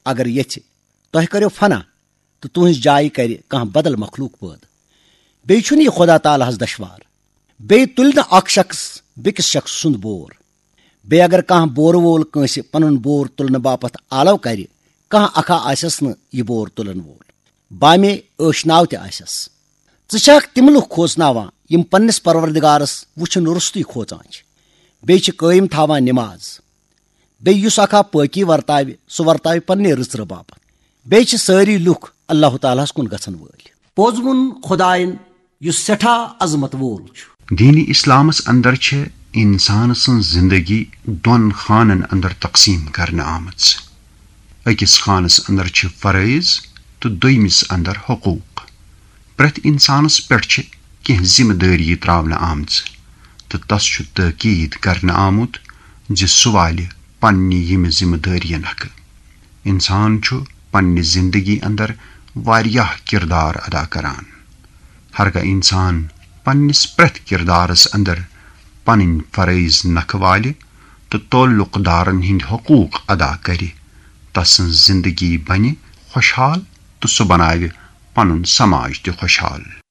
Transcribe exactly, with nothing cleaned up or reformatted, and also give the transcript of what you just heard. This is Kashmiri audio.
اگر یژھِ، تۄہہِ کٔرِو فنا تہٕ تُہنٛزِ جایہِ کرِ کانٛہہ بدل مخلوق پٲدٕ۔ بیٚیہِ چھُنہٕ یہِ خدا تعالیٰ ہس دشوار۔ بیٚیہِ تُلہِ نہٕ اکھ شخص بیٚکِس شخص سُنٛد بور۔ بیٚیہِ اگر کانٛہہ بورٕ وول کٲنٛسہِ پنُن بور تُلنہٕ باپتھ آلو کرِ، کانٛہہ اکھا آسٮ۪س نہٕ یہِ بور تُلن وول، بامے ٲشناو تہِ آسٮ۪س۔ ژٕ چھکھ تِم لُکھ کھوژناوان یِم پننِس پروردگارس وٕچھُن روٚستُے کھوژان چھِ، بیٚیہِ چھِ قٲیِم تھاوان نماز۔ بیٚیہِ یُس اکھا پٲکی ورتاوِ، سُہ ورتاوِ پننہِ رٕژرٕ باپتھ۔ بیٚیہِ چھِ سٲری لُکھ اللہ تعالیٰ ہس کُن گژھن وٲلۍ۔ پوٚز ووٚن خدایَن، یُس سٮ۪ٹھاہ عظمت وول چھُ۔ دین اسلامس اندر چھِ انسان سٕنٛز زندگی دۄن خانن اندر تقسیم کرنہٕ آمٕژ۔ أکِس خانس اندر چھِ فرٲیض تہٕ دوٚیمِس اندر حقوق۔ پرٛٮ۪تھ انسانس پٮ۪ٹھ چھِ کینٛہہ ذمہٕ دٲری تراونہٕ آمژٕ تہٕ تس چھُ تٲکید کرنہٕ آمُت زِ سُہ والہِ پننہِ ییٚمہِ ذمہٕ دٲریَن حقہٕ۔ انسان چھُ پننہِ زندگی اندر واریاہ کردار ادا کران۔ ہرگاہ انسان پننِس پرٛٮ۪تھ کردارس اندر پنٕنۍ فرٲیض نکھٕ والہِ تہٕ تعلق دارن ہٕنٛدۍ حقوق ادا کرِ، تسٕنٛز زندگی بنہِ خۄشحال تہٕ سُہ بناوِ پنُن سماج تہِ خۄشحال۔